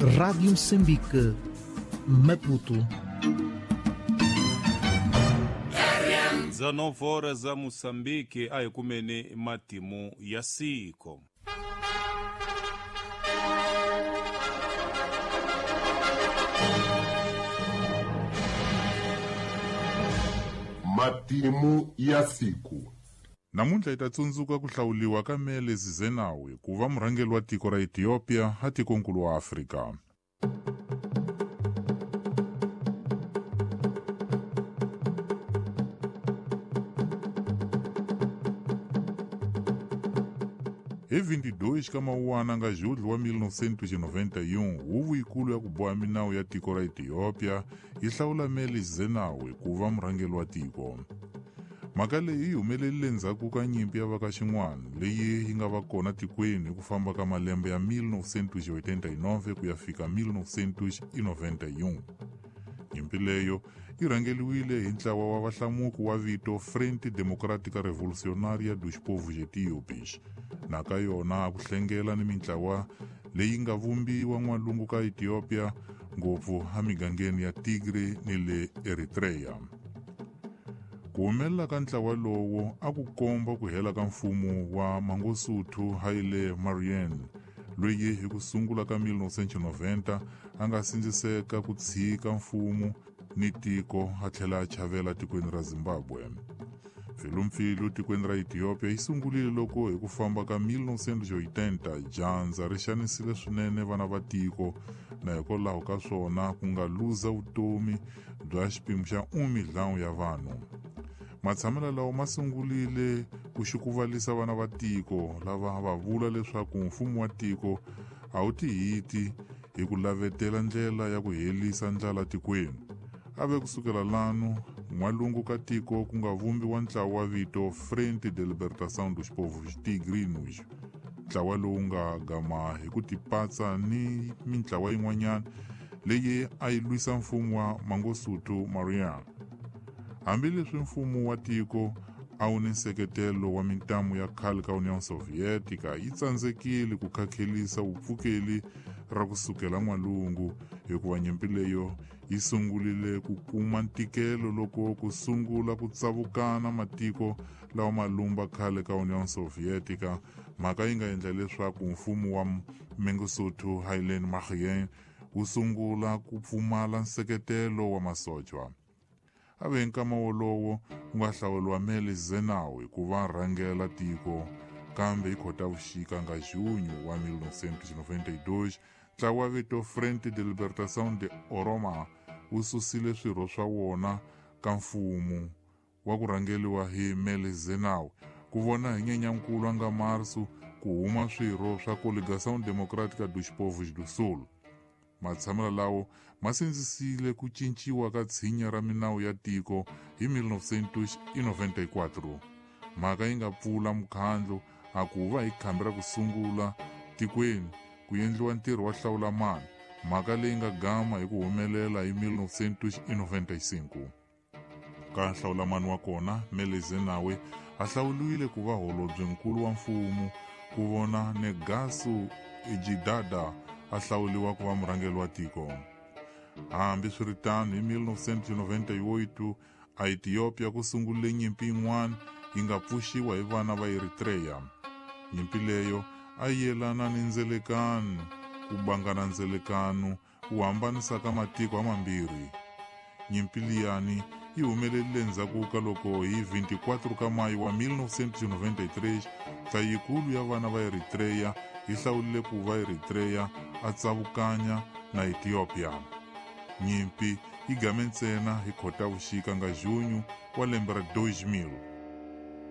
Rádio Moçambique, Maputo. 19 horas za Moçambique ayikumene matimu ya siko. Matimu ya siku. Namuntlha hi ta tsundzuka ku hlawuliwa ka Meles Zenawi ku va murhangeri wa tiko ra Ethiopia a tikonkulu wa Afrika. Hi 22 ka Mawuwana nga Julho wa 1991, huvo yikulu ya ku boha minawu ya tiko ra Ethiopia yi hlawula Meles Zenawi ku va murhangeri wa tiko. Mhaka leyi yi humelerile ndzhaku ka nyimpi ya vaka xin'wana leyi yi nga va kona tikweni hi ku famba ka malembe ya 1989 ku ya fika 1991. Nyimpi leyo yi rhangeriwile hi ntlawa wa vahlamuki wa vito Frente Democrática Revolucionária dos Povos Etíopes. Na ka yona a ku hlengela ni mintlawa leyi nga vumbiwa n'walungu ka Ethiopia, ngopfu emigangeni ya Tigray ni le Eritrea. Ku humelela ka ntlawa lowo a ku komba ku hela ka mfumo wa Mangosuthu Haile Mariam, loyi hi ku sungula ka 1990 a nga sindziseka ku tshika mfumo ni tiko a tlhela a chavela tikweni ra Zimbabwe. Mpfilumpfilu tikweni ra Ethiopia yi sungulile loko hi ku famba ka 1980 dyandza ri xanisile swinene vana va tiko, na hikwalaho ka swona ku nga luza vutomi bya xipimo xa 1 ya vanhu. Matshamelo lawa ma sungulile ku xukuvalisa vana va tiko lava va vula leswaku mfumo wa tiko a wu tihiti hi ku lavetela ndlela ya ku herisa ndlala tikweni. A ve kusukela lano n'walungu ka tiko ku nga vumbiwa ntlawa wa vito Frente de Libertação dos Povos Tigrinos, ntlawa lowu nga gama hi ku tipatsa ni mintlawa yin'wanyana leyi a yi lwisa mfumo wa Mangosuthu Mariam. Hambileswi mfumo wa tiko a wu ni nseketelo wa mintamu ya khale ka Union Sovietica, yi tsandzekile ku khakhelisa vupfukeli ra kusukela n'walungu, hikuva nyimpi leyo yi sungulile ku kuma ntikelo loko ku sungula ku tsavukana matiko lawa ma lumba khale ka Union Sovietica, mhaka yi nga endla leswaku mfumo wa Mangosuthu Haile Mariam wu sungula ku pfumala nseketelo wa masocha. A ve nkama wolowo ku nga hlawuriwa Meles Zenawi ku va rhangela tiko, kambe hi Khotavuxika nga Junho wa 1992 ntlawa wa vito Frente de Libertação de Oroma wu susile swirho swa wona ka mfumo wa ku rhangeriwa hi Meles Zenawi, ku vona hi Nyenyankulu a nga Marsu ku huma swirho swa Coligação Democrática dos Povos do Sul. Matshamelo lawo ma sindzisile ku cinciwa ka tshinya ra minawu ya tiko hi 1994. Mhaka yi nga pfula mukhandlu a ku va hi khambi ra ku sungula tikweni ku endliwa ntirho wa hlawula mani, mhaka leyi nga gama hi ku humelela hi 1995. Ka hlawulamani wa kona, Meles Zenawi a hlawuliwile ku va holobyenkulu wa mfumo, ku vona Negaso Gidada a hlawuliwa ku va murhangeri wa tiko. Hambiswiritano, hi 1998 a Ethiopia ku sungulile nyimpi yin'wana yi nga pfuxiwa hi vana va Eritrea. Nyimpi leyo a yi yelana ni ndzelekano, ku bangana ndzelekano wu hambanisaka matiko hamambirhi. Nyimpi liyani yi humelerile ndzhaku ka loko hi 24 ka Mayi wa 1993 nhlayikulu ya vana va Eritrea yi hlawulile ku va Eritrea a tsavukanya na Ethiopia. Nyimpi yi game ntsena hi Khotavuxika nga Junho wa lembe ra 2000.